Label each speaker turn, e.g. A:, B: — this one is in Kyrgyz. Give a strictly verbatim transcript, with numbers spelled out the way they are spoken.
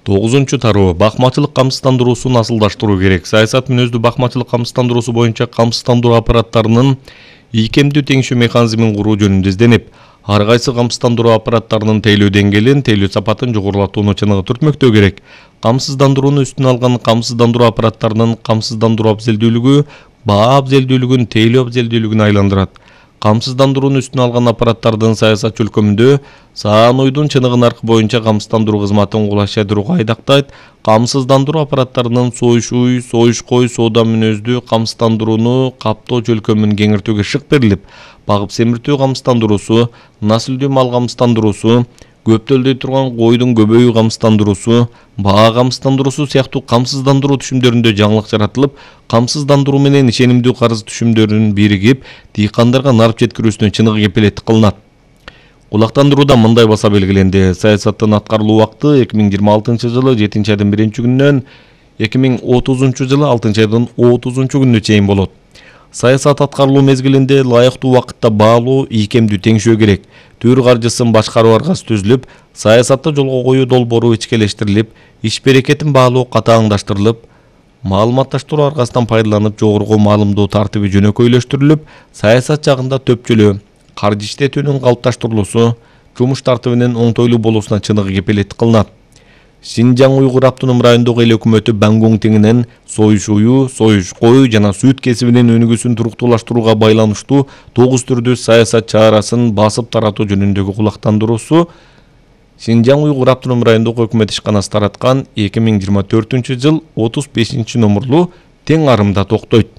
A: тогузунчу тароо. Бакмачылык камсыздандыруусун асылдаштыруу керек. Саясат мүнөздүү бакмачылык камсыздандыруусу боюнча камсыздандыруу аппараттарынын ийкемдүү теңшөө механизмин куруу жөнүндө изденип, ар кайсы камсыздандыруу аппараттарынын тейлөө деңгээлин, тейлөө сапатын жогорулатууну чыныгы түртмөктөө керек. Камсыздандырууну үстүнө алган камсыздандыруу аппараттарынын камсыздандыруу абзелдүүлүгү баа абзелдүүлүгүн тейлөө абзелдүүлүгүнө айландырат. Камсыздандырууну үстүнө алган аппараттардын саясат чөлкөмүндө саануйдун чыныгы наркы боюнча камсыздандыруу кызматын кулашайдырууга айдактайт. Камсыздандыруу аппараттарынын союш уй, союш кой, соода мүнөздүү камсыздандырууну каптоо чөлкөмүн кеңиртүүгө шык берилип, багып семиртүү камсыздандыруусу, насилдүү мал камсыздандыруусу, көптөлдөй турган койдун көбөйүү камсыздандыруусу, баа камсыздандыруусу сыяктуу камсыздандыруу түшүмдөрүндө жаңылык жаратылып, камсыздандыруу менен ишенимдүү карыз түшүмдөрүнүн биригип, дыйкандарга нарп жеткирүүсүнө чыныгы кепилеттик кылынат. Кулактандырууда мындай баса белгиленди. Саясаттын аткарылуу убакыты эки миң жыйырма алтынчы жылы жетинчи айдын биринчи күнүнөн эки миң отузунчу жылы алтынчы айдын отузунчу күнүнө чейин болот. Саясат аткарылуу мезгилинде ылайыктуу убакытта баалуу, ийкемдүү теңшөө керек. Төр каржысын башкаруу аргасы түзүлүп, саясатты жолго коюу долбоору ичкелештирилип, иш берекетин баалоо катааңдаштырылып, маалыматташтыруу аргасынан пайдаланып жогорку маалымдоо тартиби жөнөкөйлөштүрүлүп, саясат жагында төпчөлөө, каржы иштетүүнүн калыпташтырылуусу, жумуш тартибинин оңтойлуу болуусуна чыныгы кепилеттик кылынат. Шинжаң Уйгур автоном райондук эл өкмөтү Бангун теңинен союш ую, союш кой жана сүт кесибинин өнүгүүсүн туруктуулаштырууга байланыштуу тогуз түрдүү саясат чарасын басып таратуу жөнүндөгү кулактандыруусу Шинжаң Уйгур автоном райондук өкмөт ишканасы тараткан эки миң жыйырма төртүнчү жыл отуз бешинчи номурлуу тең арымда токтойт.